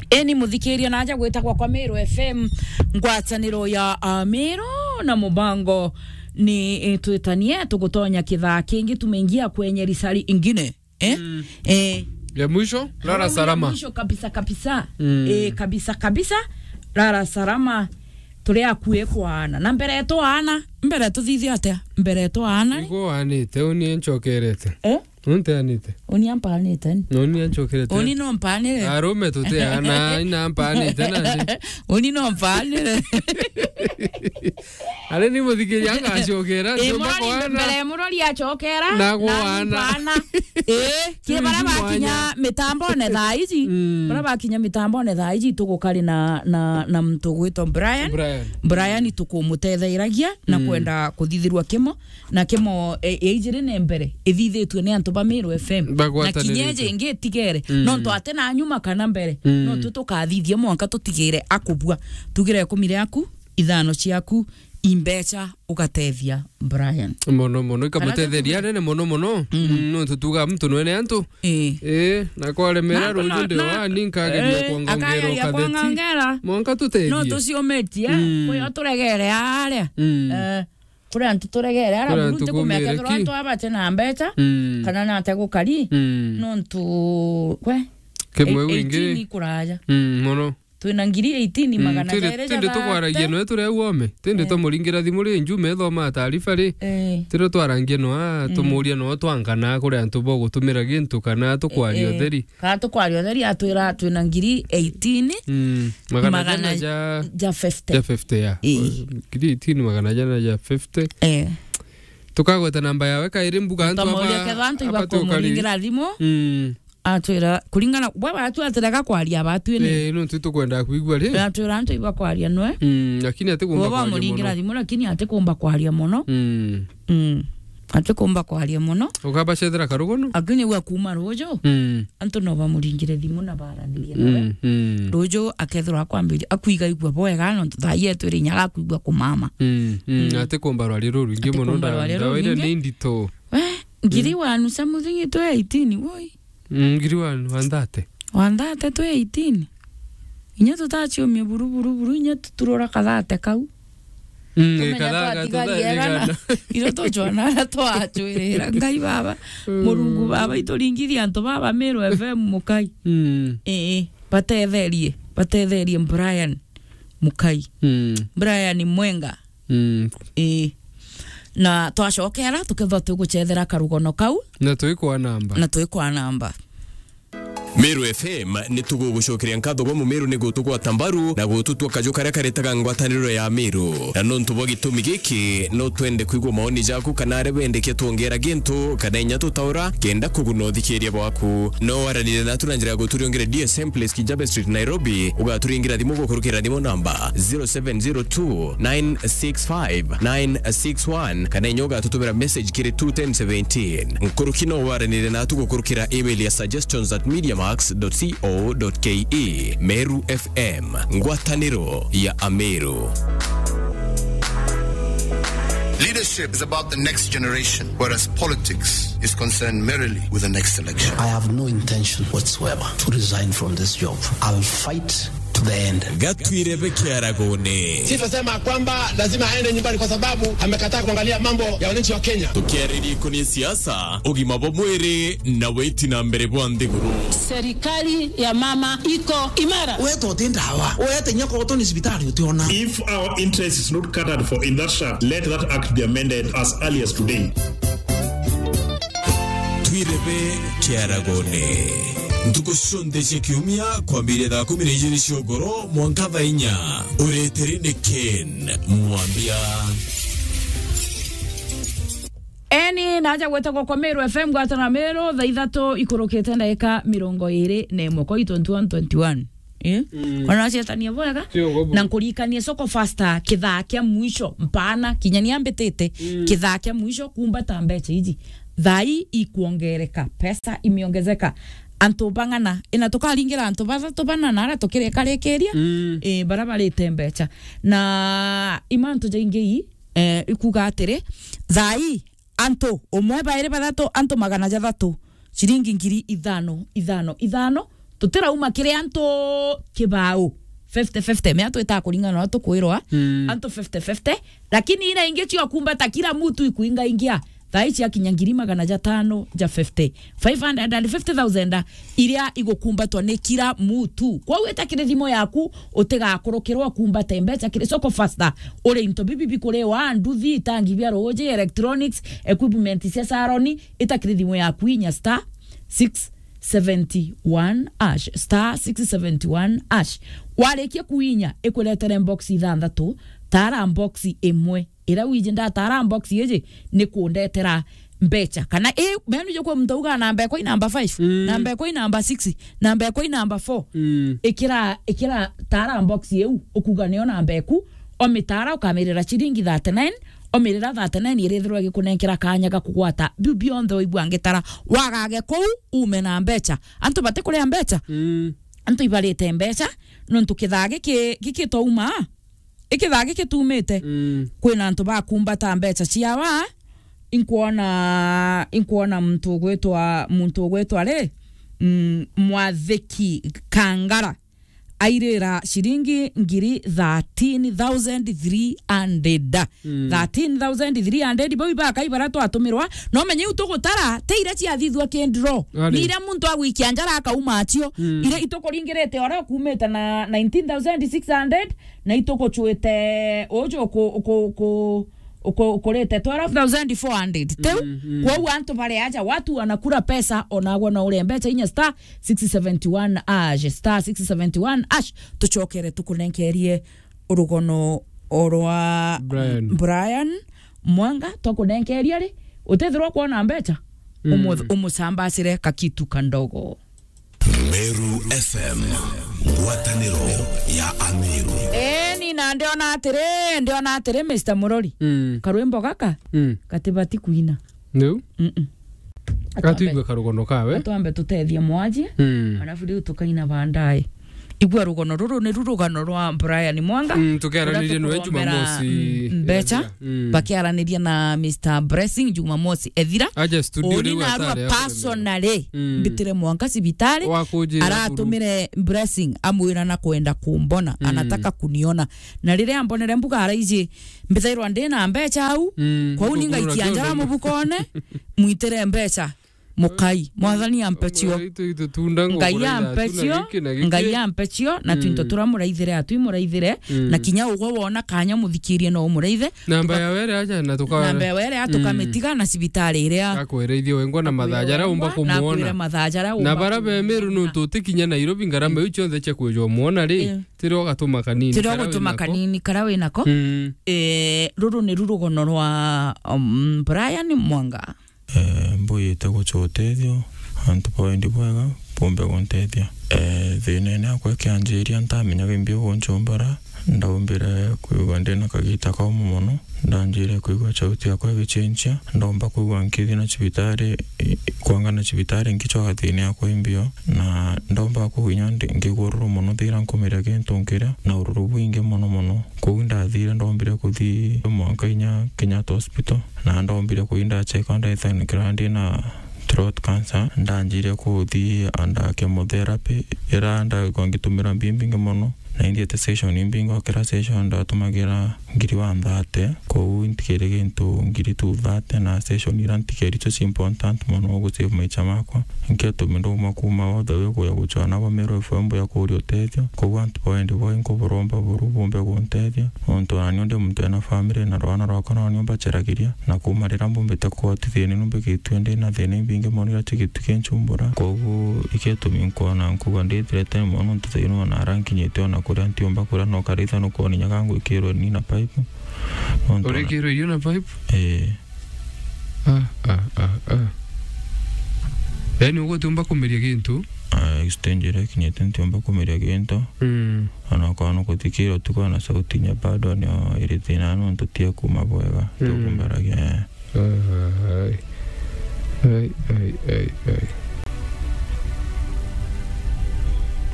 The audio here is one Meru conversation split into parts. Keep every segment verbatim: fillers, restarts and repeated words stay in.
Eni muthikiria naja gwitagwa kwa Meru F M, ngwataniro ya Ameru na mubango ni, eh, twitanie, tugutonya kithaa kingi, tumeingia kwenye risari ingine. Eh? Mm. Eh. Ya mwisho, lala salama. Mwisho kabisa kabisa. Mm. Eh, kabisa kabisa. Lala salama. Turi akui kwaana. Na mbere yetu aana, mbere tuthithia atia? Mbere yetu aana. Igo anite, uni nchokerete. Eh? Unteanite. Uni ampanite. No, uni anchokerete. Uni no mpanire. Arume tuteana, ina mpanite nandi. Uni no mpanire. Ari ni muthikiria ngacokera, eh, ndio murori mbere murori achokera, na gwana. Eh, kie bara bakinya mitambone thaa iji. Mm. Bara bakinya mitambone thaa iji, tugukari na, na, na muntu gwitwa Brian. Brian. Brian tukumutetheiragia na, mm, kwenda kuthithirwa kimo. Na kimo, e, e, ijiri ne mbere, ithithitue ni antu ba Meru F M. Na kinya iji ingi itigere. Mm. Nontu ati na nyuma kana mbere, mm, no tu tukathithia mwanka tutigire akubua. Tugire ikumi riaku, ithano ciaku, imbecha ugatethia Brian. Mono mono, ikamutetheria nene mono mono. Mm. Mm, nontu tuga muntu nwene antu. Eh. Eh, na kwaremera ruju ndio wa, ni nkageria, eh, kwongongera akageria ukateti. Kwongongera. Mwanka tutethie. No tuciometie, mm, kuyo turegere aria. Mm. Eh. Kuri antu turegere ara buru ntikumenya kethirwa antu aba bati na mbecha, mm, kana nate gukari, mm, nontu, we, kimwe e-, wingi. Eighteen ikuraja. Mm, mono. Twina ngiri eighteen, mm, magana jairi ja thate. Tindi tukwaragia noe turi au ome. Tindi, eh, tumuringira thimu ri, njume ithoma taarifa ri. Eh. Tiri twarangia noa, mm, tumuria noa twankana kuri antu bogutumira gintu kana tukwaria, eh, eh, utheri. Kana tukwaria utheri atwira twina ngiri eighteen, mm, magana jana ja, ja fifty. Ja fifty, ya. Ii. Ngiri eighteen magana jana ja fifty. Eh. Tukagweta namba yawe kairi mbuga antu aba, twamuria kethwa antu aba ibakumuringira thimu. Mm. Atwira, kuringana, bwe batu atirega kwaria batu ini. Eh, nontu tukwenda kwigua ri. Atwira antu ibakwaria nwe. Mm, lakini ati kumba kwaria muno. Bwe bamuringira thimu, lakini ati kumba kwaria muno. Mm. Mm. Ati kumba kwaria muno. Ukabacethera karugono? Lakini gwa kuma ruju, mm, antu no bamuringire thimu na baranirie nawe. Mm, mm. Ruju akethirwa akwambiria, akwiga igua bwega, nontu thaa ii etwire inya agakwigua kumama. Mm, mm. Mm. Ati kumba rwari ruru ingi muno, ndawa iria ni ndito. We, ngiri, mm, wanu cia muthingi twi eighteen, woi. Mm, ngiri wanu, one thirty. One thirty twi eighteen. Inya tutaciumia buru, buru, buru, inya tuturura kathate kau. Mm, tumenya kathate, twatigaria kathate igana. Igana. Iro tucwana aria twacwirira. Ngai baba, mm, Murungu baba, ituringithia antu baba Meru F M mukai. Mm. Ii, batetherie, batetherie Brian mukai. Mm. Brian Mwenga. Mm. Ii. Na twacokera, tukethwa tugucethera karugono kau. Na twikwa namba. Na twikwa namba. Meru F M ni tugugucokeria nkatho bwa Mumiru ni gutugwata mbaru na gututua kaju karia karetaga ngwataniro ya Meru. Na nontu bwa gitumi giki, no twende kwigua maoni jaku kana aria bendekia twongera gintu kana inya tutaura kenda kuguna uthikiria bwaku. No waranire natu na njira ya guturiongere D S M Place, Kijabe Street, Nairobi. Ugaturingira thimu gukurukira thimu namba zero seven zero two nine six five nine six one, kana inya ugatutumira message kiri two ten seventeen. Nkuruki no waranire natu gukurukira email ya suggestions at mediamax dot co dot ke. Meru F M, ngwataniro ya Ameru. Leadership is about the next generation, whereas politics is concerned merely with the next election. I have no intention whatsoever to resign from this job. I'll fight to the end. Gatwirebe kiaragone. Sifa sema kwamba lazima aende nyumbani kwa sababu amekataa kuangalia mambo ya wananchi wa Kenya. Tukiariria ikoni siasa, ugima bwa mwiri na witi na mbere bwa nthiguru. Serikali ya mama iko imara. Wete uti ndawa, wete inya koto ni cibitari utiona. If our interest is not catered for in that sha, let that act be amended as early as today. Twirebe kiaragone. Ntuku cionthe cia kiumia, kwambiria thaa kumi na ijiri cia ugoro mwanka thaa inya. Ureteri ni Ken Mwambia. Eni, naja gwetagwa kwa Meru F M, ngwatana Meru, thaa ithatu ikurukite ndagika mirongo iri na imwe, kwa twenty-one twenty-one. Eh? Mm. Ona cietania bwega. Sio ngobu. Na nkuririkanie Soko Fasta, kithaa kia mwisho, mpana, kinya ni ambitite, mm, kithaa kia mwisho, kumbata mbecha iji. Thaa ii ikwongereka, pesa imeongezeka. Antu bang'ana, ina tukaringira antu bathatu bana na ara tukirikarikiria, mm, eh, bara barite mbecha. Na imantu jaingi ii, eh, ikuga atiri, thaa ii, antu, umwe, bairi, bathatu, antu magana jathatu, ciringi ngiri ithano, ithano, ithano, Tutirauma kiri antu kibao. Fifty fifty, mea twita kuringana na tukwirwa. Mm. Antu fifty fifty, lakini ina ingi cio kumbata kila mutu ikuingaingia. Thaa ici akinya ngiri magana jatano ja fifty, five hundred and fifty thousand iria igukumbatwa ni kila mutu. Kwou ita kiri thimu yaku, utigakurukirwa kumbate mbeca kiri soko faster. Uri into bibi bikuriwa, nduthi, itangi bia ruuji, electronics, equipment cia salon, ita kiri thimu yaku inya star six seventy one hash, star six seventy one hash. Warikia kuinya, ikuretere box ithanthatu, tara box imwe. Ira wiji ndatara box iji, ni kundetera mbeca. Kana i, menu jo kwa muntu auga namba ekwa i namba five, mm, namba ekwa i namba six, namba ekwa i namba four. Mm. Ikira, ikira tara box iu, ukuga niyo namba eku, omitara ukamirira ciringi thirty nine, omirira thirty nine irithirwa igikunenkera kanya ga kugwata biu bionthe waigua ngitara. Wagage kuu, ume na mbeca. Antu batikuria mbeca. Mm. Antu ibarite mbeca, nontu kithaa giki, gikitouma, ikithaa gikitumite. Mm. Kwina antu bakumbata mbeca ciawa, inkwona, inkwona muntu ugwitwa, muntu ugwitwa ri, mm, Mwathiki Kangara. Airira ciringi ngiri thirteen thousand three hundred. Mm. Thirteen thousand three hundred, bau ibakai bara twatumirwa. No menye iu tugutara, ti iria ciathithua ki draw. Ari. Ni iria muntu agwikia njara akauma acio. Mm. Iria itukuringirite ora ukumite na nineteen thousand six hundred, na itukucwite uju ku, ku, ku, uku-, ukurite twelve thousand four hundred. Tiu? Mm, mm. Kwou antu bari aja, watu wanakula pesa, onagwa no urie mbeca inya star six seventy one hash, star six seventy one hash, tucokere tukunenkerie urugono orwa Brian. Brian Mwanga, twakunenkeria ri, utethirwa kwona mbeca, mm, umu-, umusambacire kakitu kandogo. Meru F M, ngwataniro ya Ameru. Eeni, na ndiona atiri, ndiona atiri, Mister Murori. Mm. Karwimbo gaka, mm, gatibati kuina. Niu? Mm-mm. Gatwimbe karugono kawe. Atwambe tutethie mwajie, mm, alafu riu tukaina baadaye. Igua rugono ruru niru rugano rwa Brian Mwanga. Mm, tukiaranirie nwe Jumamosi, mm, mbeca, ethira. Mm. Bakiaraniria na Mister Blessing Jumamosi ethira. Aja studio. Uni riu narua atari personally, mm, mbitire Mwanga cibitari. Wakunjira aratumire Blessing amwira na kwenda kumbona, mm, anataka kuniona. Na riria ambonere mbuga araiji, mbithairwa ndi na mbeca au, mm, kwou ni ngaikia njara mubukone, mwitire mbeca. Mukai, Mwathani ampe cio. Ngai ampe cio, Ngai ampe cio, na twinto turamuraithire, atwi muraithire, mm, na kinya ugwe wona kanya muthikirie no umuraithe. Namba ya were aja na tuka-, namba ya were aja, mm, tukamitiga na cibitari iria akwirithia wengwa na mathaa jaria umba kumuona. Na bara be Meru nuntu utikinya Nairobi, ngarama iu cionthe cia kwijwa muona ri, eh, tirio gatuma kanini, tirio karia gatuma winako. Kanini karia winako. Mm. Eh, ruru ni rurugono rwa, um, Brian Mwanga. Eh, mbuyite gucwa utethio, antu ba wendi bwega bumbe guntethia. Eh, thinene akwa ikianjiria ntamenyaga imbi uguncumbara, ndaumbire kwigua ndina kagita kaumu mono, ndanjire kwigua sauti yakwa igicenjia, ndomba kwigua nkithi na cibitari, i-, kwanga na cibitari ngicwaga thina yakwa imbio, na ndomba kwigua inya ndi-, ngigua ururu mono thira nkumiria gintu nkiria, na ururu bwingi mono mono. Kwou ndathire ndombire kuthi mwanka inya Kenyatta Hospital, na ndombire kuthi ndacheka ndaithanikira ndina throat cancer, ndanjire kuthi under chemotherapy, ira ndaigua ngitumira mbi imbingi mono, na inthiete session imbingi, o kira session ndatumagira ngiri one thirty, kwou ntikiri gintu ngiri two thirty, na session ira ntikeri icio ci important mono gu save maicha makwa. Nkio tumi ndauma kuma all the way kuya guchwa nabo Meru F M ya kuria utethio. Kwou antu ba wendi bwai nkuburomba buru bumbe guntethia. Nontu nani ndi muntu ena family na rwana rwakwa nani mbacharagiria. Na kuma riria mbumbite kuotithia ni numbe gitue ndi na thina imbingi mono iria cigitu kinchumbura. Kwou ikio tumi nkwona nkuga ndithirete mono nontu thaino ona ara nkinyite ona kuria ntiumba kuria no karitha nukwoni nyaga ngwikirwe ni na pipe. Nontu ona urikirwe irio na pipe? Eh. Ah, ah, ah, ah. Yaani, ugutiumba kumeria gintu? Ah, stage iria ikinyite ntiumba kumeria gintu. Mm. Ona ukorwo nukuthikira utuku na sauti inya bado nio iri thina nontu tia kuma bwega. Mm. Tukumbaragia, eh. Ai. Ai, ai, ai, ai.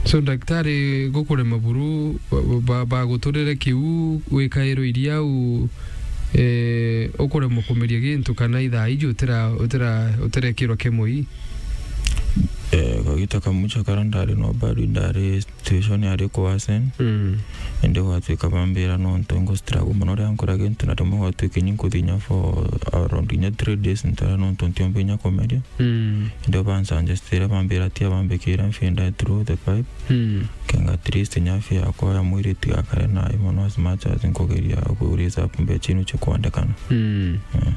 So, daktari gukurema buru, ba-, ba-, baguturire kiu, wikairwo iria u, eh, ukuremwo kumeria gintu kana ithaa iji utira-, utira-, utirekirwa kemoi? Eh, Ita kamucha kara ndari no bado ndari situation yari kwa sen. Mm. Ende gwatuika bambira no ntu ngo struggle mono ria nkora gintu na rimwe gwatuika nyi nkuthi nya for around nya three days ntara no ntu ntiombe nya komeria. Mm. Ende bansanjestire bambira tia bambikira mfinda through the pipe. Mm. Kenga at least nya fia yakwa ya mwiri tigakare na mono as much as nkugeria ku raise up mbecha inu chikwandekana. Mm. Eh.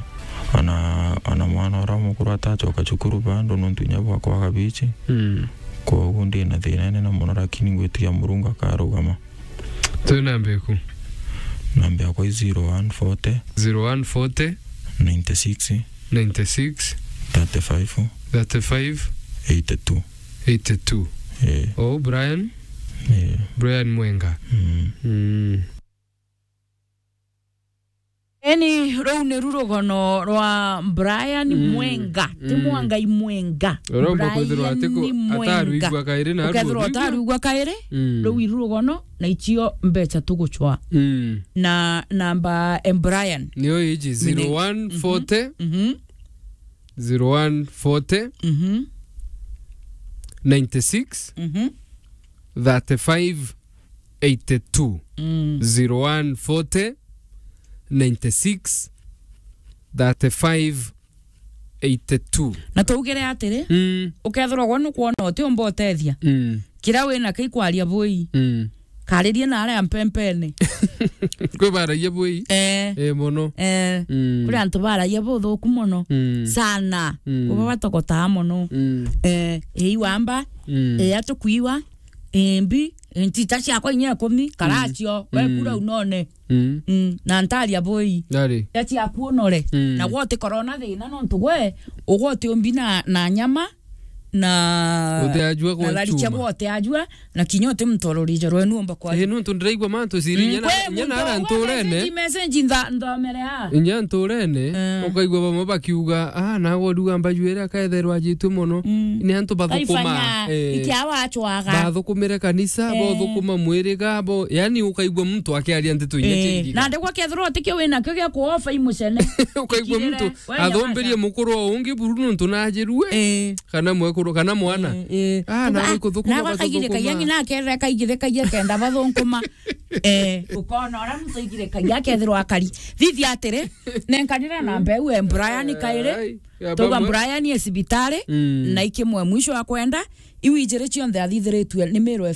Ona, ona mwana ura mukuru atachoka cukuru bado nontu inya bwakwa gabichi. Mm. Koguo ndi na thina inene mono, lakini ngwitikia Murungu akarugama. Twina mbeku. Namba yakwa i zero one forty. Zero one forty. Ninety six. Ninety six. Thirty five. Thirty five. Eighty two. Eighty two. Eh. Oh, Brian? Eh. Brian Mwenga. Mm. Mm. Eni, ruu niru rugono rwa Brian Mm, Mwenga, ti mm. Mwangai Mwenga. Uromba kwithirwa ati ku-, Brian Mwenga. Atarwigua kairi na Ukethirwa arwigua. Utarwigua kairi, Mm. Ruu iru rugono, na icio mbecha tugucwa. Mm. Na namba, em, Brian. Nio iji, Mine- zero one forty, Mhm. zero one forty, Mhm. ninety six, Mhm. thirty five, eighty two. Mm. Zero one forty, ninety six, thirty five, eighty two. Na tuugire atiri, Mm. ukethirwa gwe nukwona utiumba utethia, Mm. kiria wina kio ikwaria bui, Mm. karirie na aria mpempene. Kwi baragia bui? Eh. Eh, mono. Eh. Mm. Kuri antu baragia buthuku mono. Mm. Sana. Mm. Kuba batogotaa mono. Mm. Eh, ii wamba, Mm. eh, atukuiwa, eh, mbi, eh, ntita ciakwa inya ikumi, karacio, Mm. wekura unone. Mm. Mm, na ntaria bui. Ndari. Ya ciaku unore. Mm. Na gwe utikorwo na thina nontu gwe, ugwe utiumbi na, na nyama, na Utiajua na gwe thari cia chuma. Gwe utiajua, na kinya uti mtororije rwenu umba kwa. Eh, nontu ndiraigua mantu ciri Mm, inya na, kwe inya na muntu ara ugwe nturene. Message, message ntha-, nthomere ha. Inya nturene, Eh. ukaigua bamwe bakiuga, "Ah, nawe uruga mbaju iria akaetherwa ajitue mono." Mm. Ni antu bathukuma. Kaifanya, eh, ikia wachwaga. Bathukumire kanisa, Eh. bothukuma mwiriga, bo, yani ukaigua muntu akiaria ndeto inya Eh, ciingi. Na ndigwa kethirwa utikio wina kio gia kuofa imucene. Ukaigua Ikirire, muntu we nyamaza. Athomberie mukuru o ungi buru nontu najirue. Eh. Kana mwekuru, kana mwana. Eh, eh. Ah, Uga-, nawe ah, kuthukuma nawe bathukuma. Akaigirikagia ngina akerira kaigirikagia kenda bathunkuma. Eh, ukona ura muntu aigirikagia akethirwa akari. Thithi atiri, nenkanira na mbeu e Brian kairi. Ai, ya Tuga bamwe. Brian e cibitari, Mm. na ikimwe mwisho wa kwenda, iu ijiri cionthe athithiritue ni Meru F M.